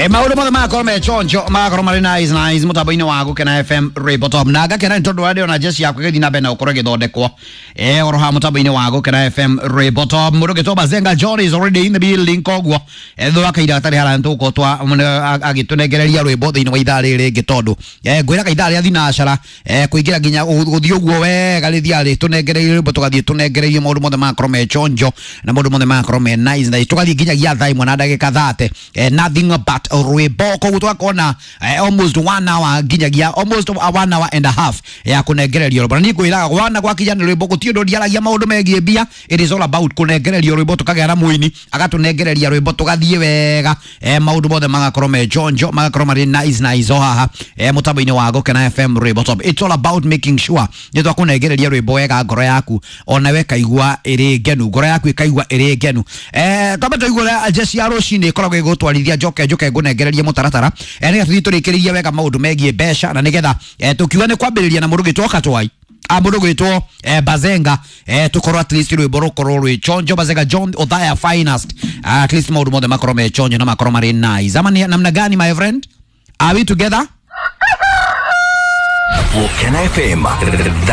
Maũndũ mothe magakorwo me chonjo, magakorwo marĩ nice nice mũtambo-inĩ wa Gũkena FM Rwĩmbo Top, na ngakena nĩ tondũ wa ndĩrona jeshi yakwa ĩgĩthiĩ na mbere na gũkorwo ĩgĩthondekwo oro haha mũtambo-inĩ wa Gũkena FM Rwĩmbo Top. Mũndũ ũgĩtwo Bazenga John is already in the building, koguo thutha wa kahinda gatarĩ haraya nĩtũgũkorwo twa agĩtũnengereria rwĩmbo thĩinĩ wa ithaa rĩrĩ rĩngĩ, tondũ ngwĩraga ithaa rĩa thinacara kũingĩra nginya gũthiĩ ũguo wega rĩthiaga rĩtũnengereirie rwĩmbo, tũgathiĩ tũnengereirie maũndũ mothe magakorwo me chonjo na maũndũ mothe magakorwo me nice nice, tũgathiĩ nginyagia thaa 1 na ndagĩka 30, nothing but rwĩmbo. Koguo tũgakorwo na almost one hour, nginyagia almost one hour and a half ya kũnengererio rwĩmbo. Na niĩ ngwĩraga wana gwakinya nĩ rwĩmbo, gũtirĩ ũndũ ndiaragia maũndũ megiĩ mbia. It is all about kũnengererio rwĩmbo, tũkagĩa na mũini agatũnengereria rwĩmbo, tũgathiĩ wega, maũndũ mothe magakorwo me chonjo, magakorwo marĩ nice nice o haha mũtambo-inĩ wa Gũkena FM Rwĩmbo Top. It's all about making sure nĩ twakũnengereria rwĩmbo wega, ngoro yaku onawe ĩkaigua ĩrĩ ngenu, ngoro yaku ĩkaigua ĩrĩ ngenu. Twambe tũigue ũrĩa jeshi ya rũcinĩ ĩkoragwo ĩgũtwarithia, njoke njoke ngũnengererie mũtaratara nĩgetha tũthiĩ tũrĩkĩrĩrie wega maũndũ megiĩ mbeca, na nĩgetha tũkiuga nĩ kwambĩrĩria na mũndũ ũgĩtwo Katwai, mũndũ gwĩtwo Bazenga, tũkorwo at least rwĩmbo rũkorwo rwĩ chonjo. Bazenga John Othaya finest, at least maũndũ mothe makorwo me chonjo na makorwo marĩ nice. Ama ni namna gani, my friend? Are we together? Gũkena FM.